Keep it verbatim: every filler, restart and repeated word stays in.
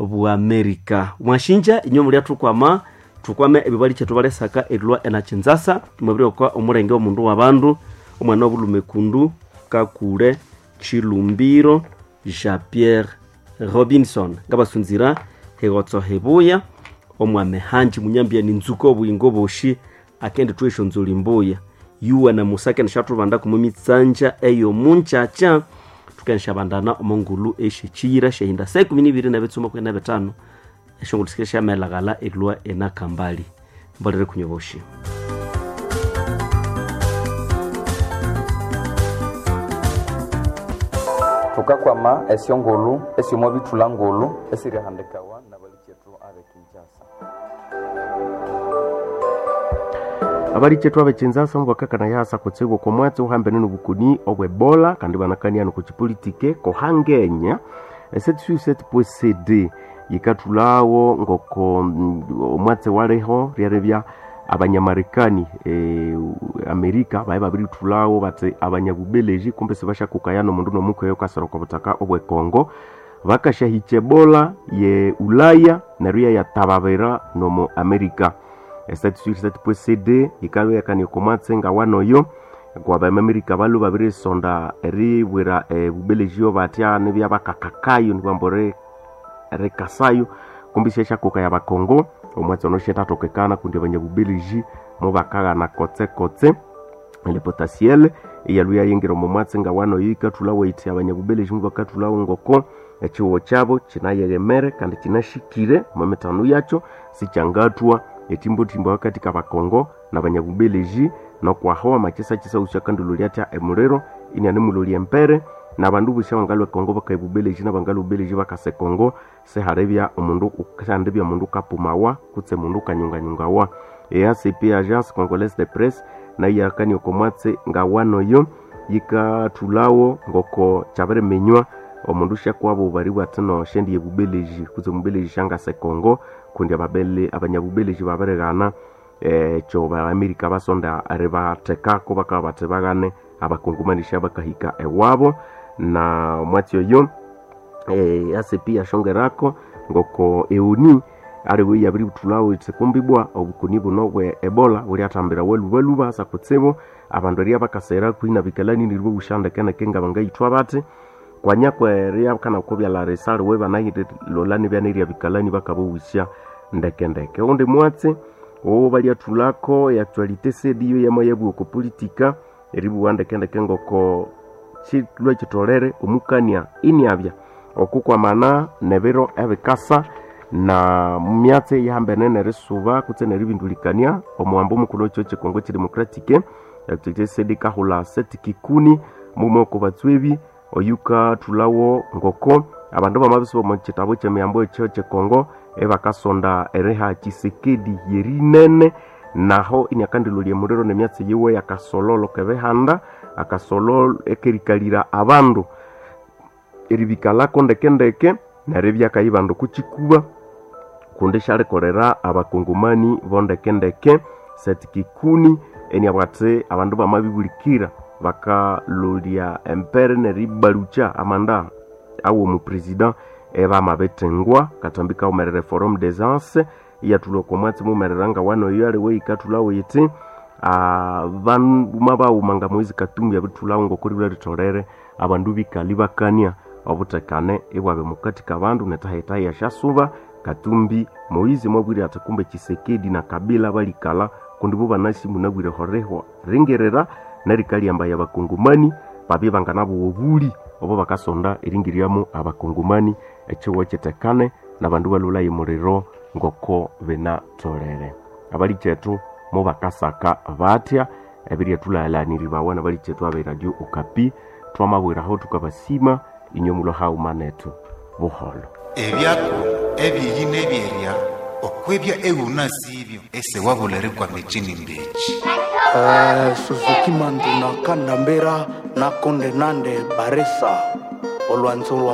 bwa Amerika. Mwashinja inywe mulya thukwama thukwame ebibali kyethu balesaka erilwa enakinzasa mwabiri okwa omulenge omundu wabandu omwana wobulhume kundu Kakule Chilumbiro Jean Pierre Robinson ngabasunzira hegotso hebuya omwame hanji munyambia ni nzuko obuyingo boshi akende twesho nzuli mbuya yuwa na musake nishathubanda kumumitsanja eyo munchacha tukanishabandana omongulu eshe chiyira shehinda saa ikumi nibiri nebitsuma kumi na bitano eshongolo sikire syamelaghala erilwa enakambali mbolere kunywa boshi. Thukakwama esyongulhu esyomo bithulha ngulhu esirihandikawa nabalikethu abe Kinshasa. Abalikethu abe Kinshasa mubakakana yasa kutsibu okw'omwatsi uhambene n'obukoni obw'Ebola kandi banakania n'okukipolitike kohangenya sept point C D yikathulhawo ngoko omwatsi waliho ryeribya abanyamarekani e, Amerika baye babirithulhawo bathi abanyabubeleji kumbe sibashakukaya n'omundu n'omuka okasira okwa buthaka obw'ekongo bakashahikya Ebola ye Ulaya neryo yayatababira n'omu Amerika. sept point C D yikabya yakania okw'omwatsi ngawanoyo kwabamamerika balwe babirisonda eribwira ebubeleji batya nibya bakakakayo nibambu rikasayo kumbi syashakuka ya bakongo omwatsi ono syetatokekana kundi abanyabubeleji mubakaghana kotse-kotse le potasiel eyalwe yayingira omo mwatsi ngawanoyo yikathulhawo yithi abanyabubeleji mubakathulhawo ngoko ekihuho kyabo kinayeghemere kandi kinashikire omo mithano yakyo sikyangathwa etimbotimbo hakati kabakongo nabanyabubeleji nokwaho amakisakisa usyakandilolya atya emuliro inianemulolya empere nabandu bosi abangalwa ekongo bakaya ebubeleji nabangalwa ebubeleji bakasa ekongo sihalibya omundu sihandibya omundu kapumawa kutse mundu kanyunganyungawa. E A C P Agence Congolaise de Presse nayo yakania oko mwatsi ngawanoyo yikathulhawo ngoko kyabiriminywa omundu syakwabo obubaribwa athi no syendiya ebubeleji kutse omubeleji syangasa ekongo kundi ababele abanyabubeleji babirighana ekyo ba-Amerika basonda eribathekako bakabya bathi baghane abakongomani syabakahika ewabo na omwatsi oyo e, A C P yashongerako ngoko eoni aliwe yabirithulhawo ithi kumbibwa obukoni buno bwe Ebola bulyathambira walubaluba asa kutsibu abandu erya bakasera kwina bikalani nirwo bushandekendeke ngabangayithwa bathi kwanya kwerya kana kubyala risaliwe banayilolha nibya bikalani bakabowusya ndekendeke. Oundi mwatsi owo balyathulhako e actualité C D yo yama yabugha oko politika eribugha ndekendeke ngoko kilhwa kitolere omukania iniabya okukwamana nebiro ebikasa na myatsi eyihambene nerisuba kutse neribindulikania omuwambo omukulhu wekihugho kyekongo kidemocratic actualité C D kahulha Seth Kikuni mughuma oko batswebi oyukathulhawo ngoko abandu bamabisuba omo kitabu kyemiyambo ekyo kyekongo ebakasonda eriha Tshisekedi yerinene naho iniakandilolya emuliro nemyatsi yiwe yakasololo kebihanda akasololo ekerikalira abandu eribikalako ndekendeke neryo ibyakayibandu kukikuba kundi syalikolera abakongomani bondekendeke. Seth Kikuni eniabugha athi abandu bamabibulikira bakalolya empere neribalukya amanda awo omupresident ebamabithengwa katambi kawumerere Forum des Anses iyathulha oko mwatsi mumerera ngawanoyo aliwe yikathulhawo yithi banuma bawuma nga Moise Katumbi abithulhawo ngoko ribulha ritholere abandu bikali bakania obuthekane ibwabya mukati kabandu netahitahi esyasuba. Katumbi Moise mwabwire athi kumbe Tshisekedi na Kabila balikalha kundi bo banasi munabwire horihwa ringirira nerikalyambaya abakongomani babye banganabowa obuli obo bakasonda eringiryamu abakongomani ekihugho kitekane nabandu balolhaye omuliro ngoko binatholere. Abalikethu mubakasaka batya ebiryathulalhaniribawa nabalikethu abe Radio Okapi twamabwiraho thukabasima inywe mulwa haghuma nethu buholo. Ebyako ebyeyi nebyerya okwebya eghunasibyo esewabula erikwama echini mbechi. Eh, Suzuki Mandu na Kandambera na Konde Nande Baresa olwanzo lwa